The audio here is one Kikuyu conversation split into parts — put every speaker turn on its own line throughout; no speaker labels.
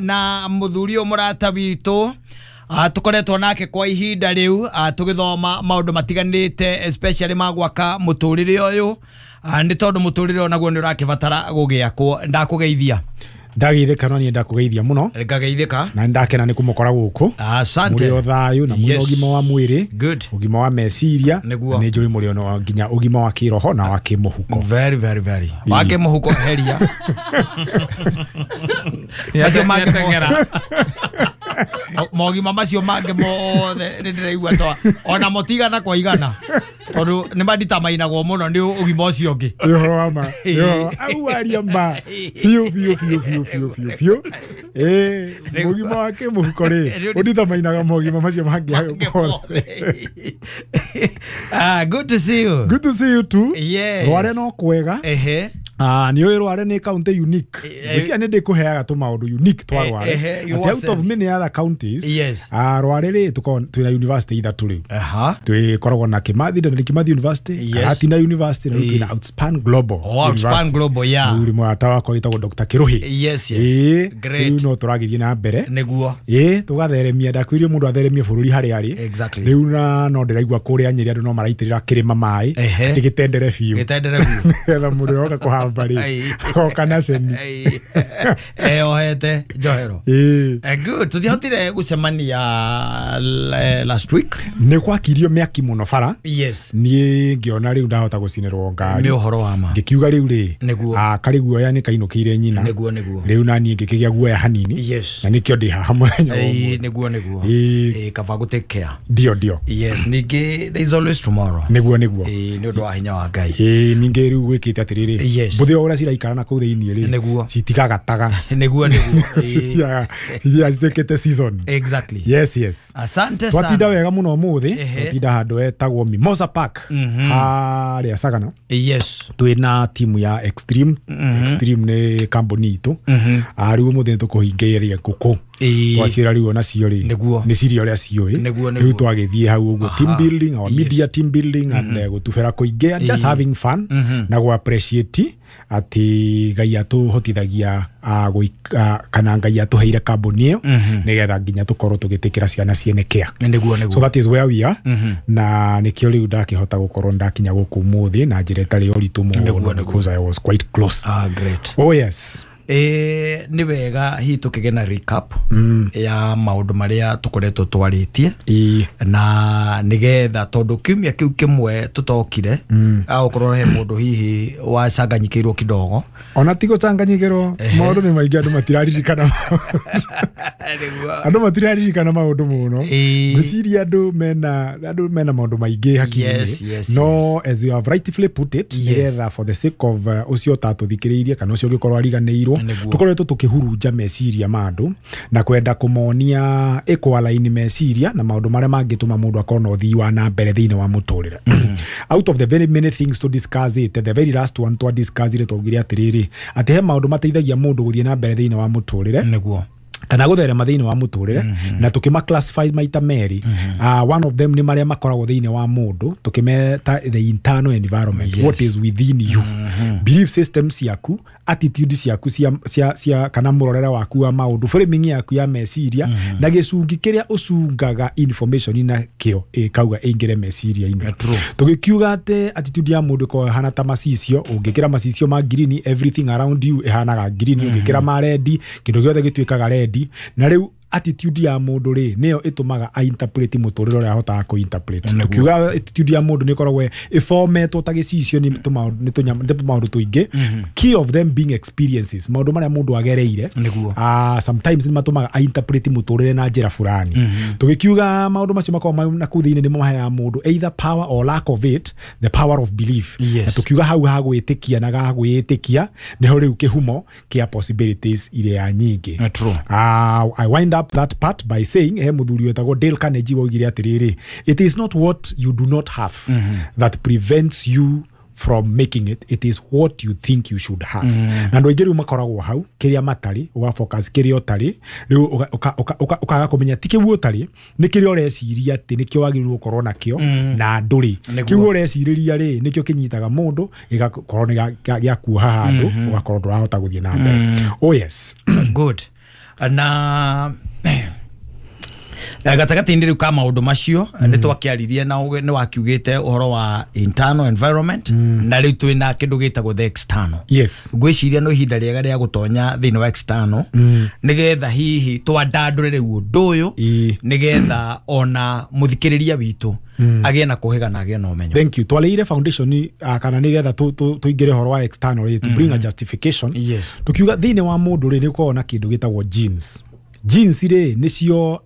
Na muthuri ũyũ mũrata witũ, tũkoretwo nake kwa ihinda rĩu, tũgĩthoma maũndũ matiganĩte, especially ma gwaka mũtũrĩre ũyũ, nĩ tondũ mũtũrĩre onaguo nĩ ũrakĩbatara gũgĩakwo. Ndakũgeithia.
Ndageithĩka, no niĩ ndakũgeithia mũno.
Ngageithĩka.
Na nĩndakena nĩ kũmũkora gũkũ.
Asante.
Mũrĩ o thayũ na mwĩna ũgima wa mwĩrĩ,
Good.
ũgima wa meciria.
Nĩguo.
Na nĩ njũĩ mũrĩ ona nginya ũgima wa kĩroho na wa kĩmũhuko.
Very, very, very wake mũhuko heria macio mangĩ mothe, mogima macio mangĩ mothe nĩ ndĩraigua twa ona mũtigana kwa igana, tondũ nĩ manditamainagwo mũno nĩ ũgima ũcio ũngĩ.
Nĩ ũhoro wa ma. Nĩ ũhoro au aria ma biũ biũ biũ biũ biũ biũ biũ. Ĩĩ, mũgima wa kĩmũhuko rĩ, ũnditamainaga mogima macio mangĩ hayo mothe.
Ah, good to see you.
Good to see you too.
Yes.
Rware no kwega. Ah, nĩ ũĩ Rware nĩ county unique. Ngwĩciria nĩ ndĩkũheaga tũmaũndũ unique twa Rware.
Ehe, in
Atĩ
what
out of
sense?
many other counties, ah, Rware rĩ, tũkoragwo twĩna university ithatũ rĩu. Twĩkoragwo na Kimathi, Dedan Kimathi University, Karatina University, na rĩu twĩna Outspan Global
Oh, Outspan
University.
Global, yeah.
Rĩu mũrata wakwa wĩtagwo Dr. Kĩrũhĩ.
Yes.
Ĩĩ,
Great.
rĩu no tũragĩthiĩ na mbere. Ĩĩ, tũgatheremia, ndakwĩrire mũndũ atheremie bũrũri harĩa arĩ. Rĩu na no ndĩraigua kũrĩa Nyĩrĩ andũ no maraitĩrĩra kĩrĩma maĩ atĩ gĩtendere biũ,
Gĩtendere biũ.
nĩgetha mũndũ oka kũhamba rĩ, oka na ceni.
Ai. Eyohete njohero.
Ĩĩ.
Good, tũtiahotire gũcemania last week.
Nĩ gwakirio mĩaki mũno bara. Niĩ ngĩona rĩu ndahota gũcinĩrwo ngari.
Nĩ ũhoro wa ma.
Ngĩkiuga rĩu rĩ, ah, karĩ guoya nĩ kainũkĩire nyina.
Nĩguo nĩguo.
Rĩu naniĩ ngĩkĩgĩa guoya hanini. Na nĩkĩo ndĩ haha mũthenya wa ũmũthĩ.
Nĩguo nĩguo.
Ĩĩ.
Kaba gũ take care.
Ndio ndio.
Yes, ningĩ there is always tomorrow.
Nĩguo nĩguo.
Ĩĩ, nĩ ũndũ wa hinya wa Ngai.
Ĩĩ, ningĩ rĩu gwĩkĩte atĩrĩrĩ, mbũthĩ o ũrĩa ciraikara na kũu thĩinĩ rĩ, citigagataga.
Nĩguo nĩguo. Ĩĩ.
Cithiaga cituĩkĩte season. Yes.
Asante
Twatinda
sana.
wega mũno ũmũthĩ. Twatinda handũ hetagwo Mimosa Park harĩa Sagana. Twĩna timu ya Extreme. Extreme nĩ kambuni itũ. Ah, rĩu ũmũthĩ nĩ tũkũhingĩrĩria ngũkũ. Twaciĩra rĩu onacio rĩ, nĩ ciria ũrĩa ciũĩ. Rĩu twagĩthiĩ hau ũguo, team building, our media team building and gũtubĩra kũingĩ and just having fun na gũ appreciate atĩ Ngai atũhotithagia, kana Ngai atũheire kambuni ĩyo nĩgetha nginya tũkorwo tũgĩtĩkĩra ciana ciene care.
Nĩguo nĩguo.
So that is where we are, na nĩkĩo rĩu ndakĩhota gũkorwo ndakinya gũkũ ũmũthĩ na njĩra ĩtarĩ ya ũritũ mũno, because I was quite close.
Ah, great.
Oh yes.
Ĩĩ, nĩ wega hihi tũkĩgĩa na recap ya maũndũ marĩa tũkoretwo twarĩtie, na nĩgetha tondũ kiumia kĩu kĩmwe tũtokire, agũkorwo he mũndũ hihi wacanganyikĩirwo kidogo.
Ona ti gũcanganyikĩrwo, maũndũ nĩ maingĩ, andũ matiraririkana. Andũ matiraririkana maũndũ mũno. Ngwĩciria andũ mena maũndũ maingĩ hakiri-inĩ. No as you have rightfully put it, nĩgetha for the sake of ũcio ũtatũthikĩrĩirie kana ũcio ũngĩkorwo ariganĩirwo, tũkoretwo tũkĩhurunja meciria ma andũ na kwenda kũmonia ĩkũalaini meciria na maũndũ marĩa mangĩtũma mũndũ akorwo na ũthii wa na mbere thĩinĩ wa mũtũrĩre. Out of the very many things to discuss it, the very last one twa discuss twaugire atĩrĩrĩ, atĩ he maũndũ mateithagia mũndũ gũthiĩ na mbere thĩinĩ wa mũtũrĩre kana gũtherema thĩinĩ wa mũtũrĩre, na tũkĩma classify maita merĩ. One of them nĩ marĩa makoragwo thĩinĩ wa mũndũ, tũkĩmeta the internal environment, what is within you, belief systems ciaku, attitude ciaku cia kana mũrorere waku wa maũndũ, framing yaku ya meciria, na gĩcungi kĩrĩa ũcungaga information na kĩo ĩkauga ĩingĩre meciria-inĩ. Tũgĩkiuga atĩ attitude ya mũndũ ĩkoragwo ĩhana ta macicio. Ũngĩkĩra macicio ma green, everything around you ĩhanaga green. Ũngĩkĩra ma red, kĩndũ gĩothe gĩtuĩkaga red. Na rĩu attitude ya mũndũ rĩ, nĩyo ĩtũmaga a-interpret mũtũrĩre ũrĩa ahotaga kũ-interpret. Tukiuga attitude ya mũndũ nĩ ĩkoragwo ĩfometwo ta gĩcicio nĩ tũmaũndũ tũingĩ, key of them being experiences, maũndũ marĩa mũndũ agereire. Sometimes nĩ matũmaga a-interpret mũtũrĩre na njĩra fulani. Tũgĩkiuga maũndũ macio makoragwo na kũu thĩinĩ nĩmo maheaga mũndũ either power or lack of it, the power of belief. Na tukiuga hau ha gwĩtĩkia na ga gwĩtĩkia nĩho rĩu kĩhumo kĩa possibilities iria nyingĩ. I wind up that part by saying he mũthuri wetagwo Dale Carnegie waugire atĩrĩrĩ, "It is not what you do not have that prevents you from making it, it is what you think you should have." Na andũ aingĩ rĩu makoragwo hau kĩrĩa matarĩ, ũgafocus kĩrĩa ũtarĩ, rĩu ũkaga kũmenya ti kĩu ũtarĩ, nĩ kĩrĩa ũreciria atĩ nĩkĩo wagĩrĩirwo gũkorwo nakĩo na ndũrĩ. Kĩu ũrecirĩria rĩ, nĩkĩo kĩnyitaga mũndũ, gĩgakorwo nĩ gĩakuoha handũ, ũgakorwo ndũrahota gũthiĩ na mbere. Oh yes.
Good. Na gatagatĩ-inĩ rĩu ka maũndũ macio nĩ twakĩaririe na nĩ wakiugĩte ũhoro wa internal environment, na rĩu twĩna kĩndũ gĩtagwo the external.
Yes.
Ngwĩciria no ihinda rĩega rĩa gũtonya thĩinĩ wa external, nĩgetha hihi twandandũre rĩu ũndũ ũyũ, nĩgetha ona mũthikĩrĩria witũ agĩe na kũhĩga na agĩe na ũmenyo.
Thank you. Twaleire foundation kana nĩgetha tũingĩre ũhoro wa external rĩ, to bring a justification.
Yes.
Tukiuga thĩinĩ wa mũndũ rĩ, nĩ ũkoragwo na kĩndũ gĩtagwo genes. Genes rĩ nĩcio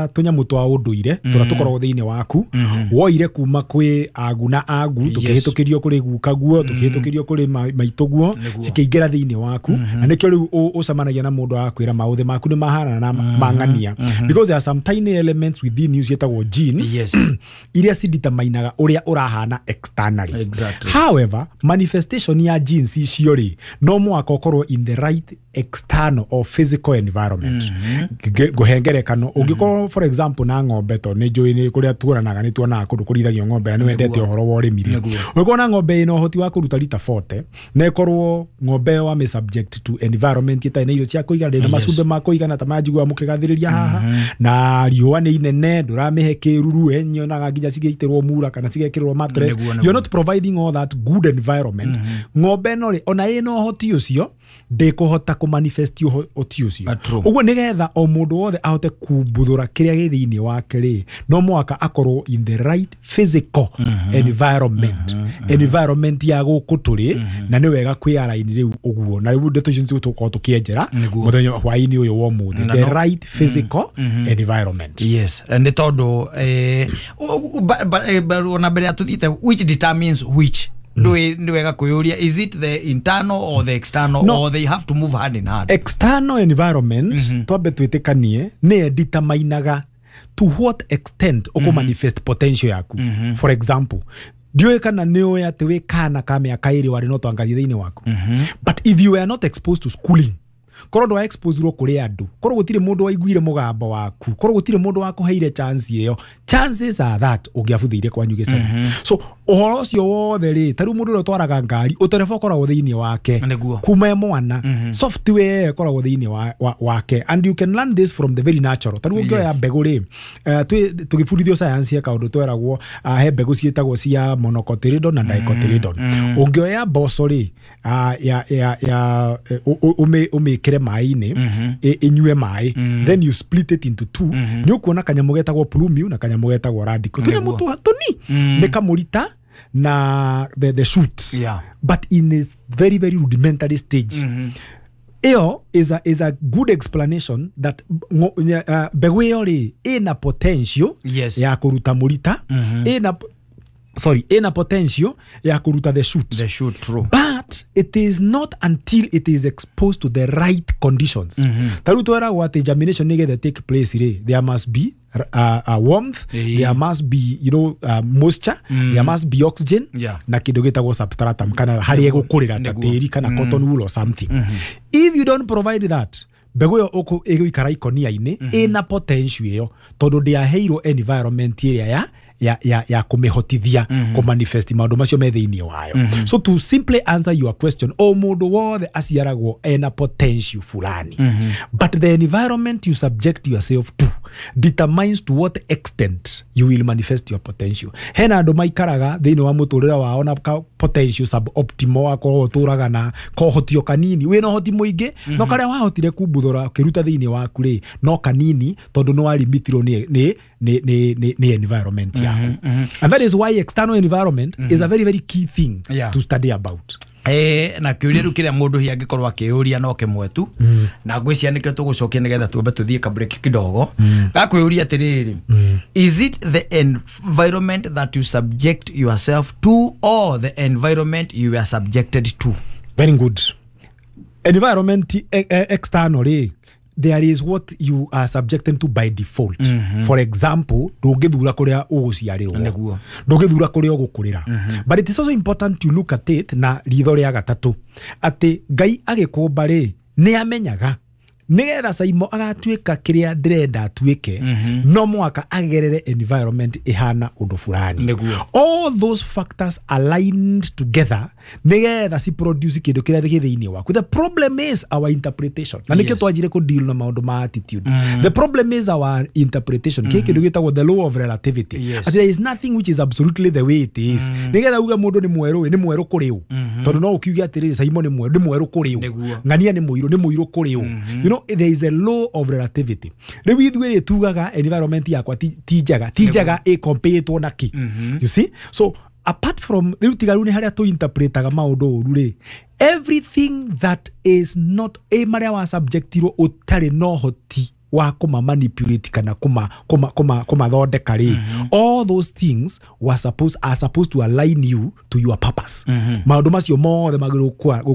tũnyamũ twa ũndũire tũrĩa tũkoragwo thĩinĩ waku, woire kuma kwĩ agu na agu, tũkĩhĩtũkĩrio kũrĩ gukaguo, tũkĩhĩtũkĩrio kũrĩ maitũguo, cikĩingĩra thĩinĩ waku. Na nĩkĩo rĩu ũcemanagia na mũndũ agakwĩra maũthĩ maku nĩ mahanana na mang'ania, because there are some tiny elements within you ciĩtagwo genes.
Yes.
Iria cideterminaga ũrĩa ũrahana externally.
Exactly.
However, manifestation ya genes icio rĩ, no mũhaka ũkorwo in the right external or physical environment. Ngũhe ngerekano, ũngĩkorwo for example na ng'ombe, to nĩ njũĩ nĩ kũrĩa tuonanaga, nĩ tuonaga kũndũ kũrĩithagio ng'ombe na nĩ wendete ũhoro wa ũrĩmi rĩ, ũngĩkorwo na ng'ombe ĩna ũhoti wa kũruta rita 40, na ĩkorwo ng'ombe ĩyo wamĩ subject to environment ĩtarĩ na irio cia kũigana, ndĩrĩ na macumbĩ ma kũigana ta manjiguaga mũkĩgathĩrĩria haha, na riũa nĩ inene, ndũramĩhe kĩruru, nyonaga nginya cigĩitĩrwo mura kana cigekĩrwo mattress, you're not providing all that good environment, ng'ombe ĩno rĩ, ona ĩna ũhoti ũcio ndĩkũhota kũmanifest ũhoti ũcio. Ũguo nĩgetha o mũndũ wothe ahote kumbuthũra kĩrĩa gĩ thĩinĩ wake rĩ, no mũhaka akorwo in the right physical environment, environment ya gũkũ tũrĩ, na nĩ wega kwĩ align rĩu ũguo, na rĩu ndeto icio nĩcio tũgũkorwo tũkĩenjera mũthenya hwaĩ-inĩ ũyũ wa ũmũthĩ, the right physical environment.
Yes, nĩ tondũ ona mbere ya tũthiĩte, which determines which, nĩ wega kwĩyũria, is it the internal or the external?
No.
Or they have to move hand in hand?
External environment, twambe twĩtĩkanie, nĩyo determinaga to what extent ũkũmanifest potential yaku. For example, ndiũĩ kana nĩ ũĩ atĩ wĩ kana ka mĩaka 2 warĩ no twangathi thĩinĩ waku, but if you were not exposed to schooling, korwo ndwa exposerwo kũrĩ andũ, korwo gũtirĩ mũndũ waiguire mũgambo waku, korwo gũtirĩ mũndũ wakũheire chance ĩyo, chances are that ũngĩabuthĩire kwanyu gĩcagi. So ũhoro ũcio wothe rĩ, ta rĩu mũndũ ũrĩa ũtwaraga ngari, ũtereba ũkoragwo thĩinĩ wake kuma e mwana, software ĩkoragwo thĩinĩ wake, and you can learn this from the very natural. Ta rĩu ũngĩoya mbegũ rĩ, tũgĩbundithio science ya kaũndũ tweragwo, he mbegũ ciĩtagwo cia monocotyledon na dicotyledon. Ũngĩoya mboco rĩ, ũmĩkĩre maĩ-inĩ, ĩnyue maĩ, then you split it into two, nĩ ũkuona kanyamũ getagwo plumule na kanyamũ getagwo radicle, tũnyamũ tũni nĩ kamũrita na the shoots.
Yeah.
But in a very very rudimentary stage. Ĩyo is a good explanation that mbegũ ĩyo rĩ, ĩna potential
Yes.
ya kũruta mũrita, ĩna potential ya kũruta the shoot.
The shoot, true.
But it is not until it is exposed to the right conditions. Ta rĩu tweragwo atĩ germination nĩgetha take place rĩ, there must be warmth, there must be moisture, there must be oxygen, na kĩndũ gĩtagwo substratum, kana harĩa ĩgũkũrĩra ta tĩri kana cotton wool or something. If you don't provide that, mbegũ ĩyo ĩgũikara ikonia-inĩ ĩna potential ĩyo, tondũ ndĩaheirwo environment ĩrĩa ya kũmĩhotithia kũmanifest maũndũ macio me thĩinĩ wayo. So to simply answer your question, o mũndũ wothe aciaragwo ena potential fulani, but the environment you subject yourself to determines to what extent you will manifest your potential. Hena andũ maikaraga thĩinĩ wa mũtũrĩre wao na potential suboptimal, wakorwo ũtũraga na kohotio kanini, wĩna ũhoti mũingĩ, no karĩa wahotire kumbuthũra ũkĩruta thĩinĩ waku rĩ, no kanini, tondũ nĩ warimitirwo nĩ environment yaku. And that is why external environment is a very very key thing to study about.
Na kĩũria rĩu kĩrĩa mũndũ hihi angĩkorwo akĩyũria no kĩmwe tu, na ngwĩciria nĩkĩo tũgũcokia nĩgetha tuambe tũthiĩ ka break kidogo, gakwĩyũria atĩrĩrĩ, is it the environment that you subject yourself to or the environment you are subjected to?
Very good. Environment external rĩ, there is what you are subjected to by default. For example, ndũngĩthura kũrĩa ũgũciarĩrwo, ndũngĩthura kũrĩa ũgũkũrĩra. But it is also important to look at it na ritho rĩa gatatũ, atĩ Ngai agĩkũmba rĩ, nĩ amenyaga nĩgetha Saimo agatuĩka kĩrĩa ndĩrenda atuĩke, no mũhaka agerere environment ĩhana ũndũ fulani. All those factors aligned together Nigetha ci produce kindu kiria gĩ thĩinĩ waku. The problem is our interpretation. Na nikio twanjire ku deal na maundu ma attitude. The problem is our interpretation. Kĩ kindu gĩtagwo the law of relativity. Yes. There is nothing which is absolutely the way it is. Nigetha uge mundu ni mweru, ni mweru kuri u. Tondu no ukiuge atiriri Simon ni mweru, ni mweru kuri u. Ng'ania ni muiru, ni muiru kuri u. You know, there is a law of relativity. Riu ithuĩ tugaga environment yakwa ti njega, ti njega ĩ comparetwo na ki. You see? So apart from riu tiga riu ni haria tu interpretaga maundu uru ri, everything that is not a maria wa subjectirwo utari no hoti wa kuma manipulate kana kuma kuma kuma kuma thondeka ri, all those things were supposed are supposed to align you to your purpose. Maundu macio mothe magirwo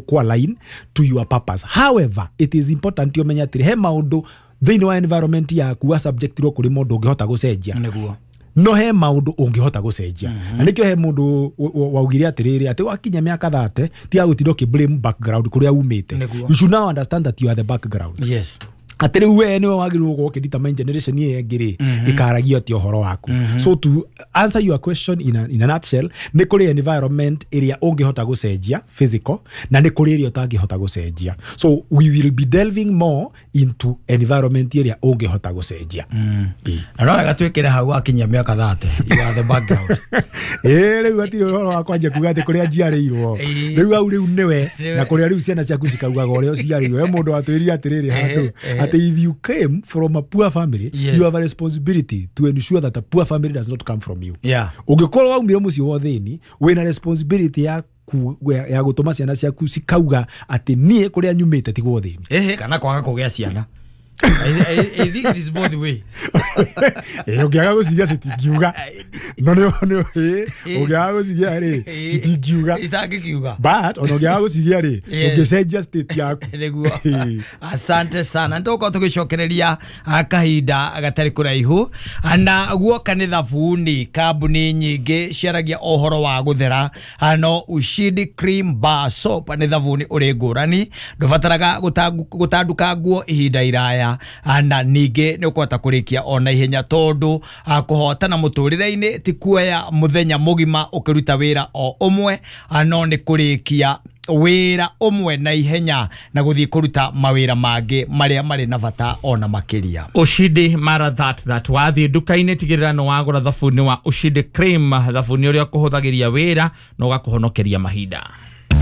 ku align to your purpose. However, it is important you menye atiri he maundu thiini wa environment yaku wa subjectirwo kuri mundu ungihota gucenjia.
Niguo.
No he maundu ungihota gucenjia. Na nikio he mundu waugire atiriri ati wakinya miaka 30 ti agutinda uki blame background kuria umite. You should now understand that you are the background.
Yes.
Atiri we niwe wagirwo gukorwo ukidetermine generation ĩyo ĩngĩ rĩ ĩkaragia atĩa ũhoro waku. So to answer your question in a nutshell, nĩ kũrĩ environment ĩrĩa ũngĩhota gũcenjia physical na nĩ kũrĩ ĩrĩa ũtangĩhota gũcenjia. So we will be delving more into environment ĩrĩa ũngĩhota gũcenjia.
Na no wega twĩkĩre hau wakinyia mĩaka 30, you are the background.
Rĩu hatirĩ ũhoro wa kwanja kuga atĩ kũrĩa njiarĩirwo rĩu hau rĩu nĩwe, na kũrĩa rĩu ciana ciaku cikaugaga ũrĩa ũciarĩirwo. He mũndũ watwĩrire atĩrĩrĩ handũ atĩ if you came from a poor family,
Yes.
you have a responsibility to ensure that a poor family does not come from you.
Yeah.
Ũngĩkorwo waumire mũciĩ wa ũthĩni, wĩna responsibility ya ya gũtũma ciana ciaku cikauga atĩ niĩ kũrĩa nyumĩte ti gwa ũthĩni.
Ehe, kana kwaga kũgĩa ciana. I think it is both way.
Ũngĩaga gũcigĩa citingiuga. No nĩ ũngĩaga gũcigĩa rĩ citingiuga.
Itangĩkiuga.
But ona ũngĩaga gũcigĩa rĩ ũngĩcenjia state yaku.
Nĩguo. Asante sana. Nĩtũgũkorwo tũgĩcokereria kahinda gatarĩ kũraihu. Na guoka nĩ thabuni, kambuni nyingĩ ciaragia ũhoro wa gũthera, no Ushindi Cream Bar Soap nĩ thabuni ũrĩ ngũrani, ndũbataraga gũtanduka nguo ihinda iraya, na ningĩ nĩ ũkũhota kũrĩkia ona ihenya tondũ kũhotana mũtũrĩre-inĩ ti kuoya mũthenya mũgima ũkĩruta wĩra o ũmwe, no nĩ kũrĩkia wĩra ũmwe na ihenya na gũthiĩ kũruta mawĩra mangĩ marĩa marĩ na bata ona makĩria.
Ushindi mara that wathiĩ nduka-inĩ tigĩrĩra nĩ wagũra thabuni wa Ushindi Cream, thabuni ũrĩa ũkũhũthagĩria wĩra na ũgakũhonokeria mahinda.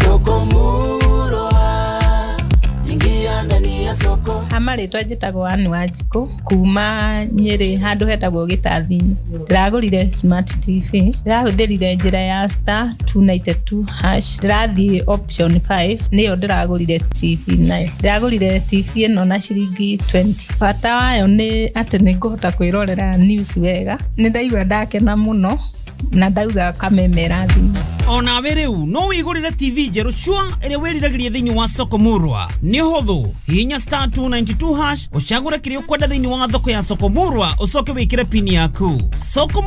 Soko Murwa, ingia ndani ya soko.
Amarĩtwa njĩtagwo Ann Wanjikũ kuma Nyĩrĩ handũ hetagwo Gĩtathi-inĩ. Ndĩragũrire smart TV, ndĩrahũthĩrire njĩra ya star 292 hash, ndĩrathiĩ option 5 nĩyo ndĩragũrire TV nayo. Ndĩragũrire TV ĩno na ciringi 20. Bata wayo nĩ atĩ nĩngũhota kwĩrorera news wega. Nĩ ndaigua ndakena mũno na ndauga kamemera thimũ.
Onawe rĩu no wĩgũrĩre TV njerũ cua ĩrĩa wĩriragĩria thĩinĩ wa Soko Murwa. Nĩ ũhũthũ, hihinya star 292 hash ũcagũre kĩrĩa ũkwenda thĩinĩ wa thoko ya Soko Murwa ũcoke wĩkĩre pini yaku. Soko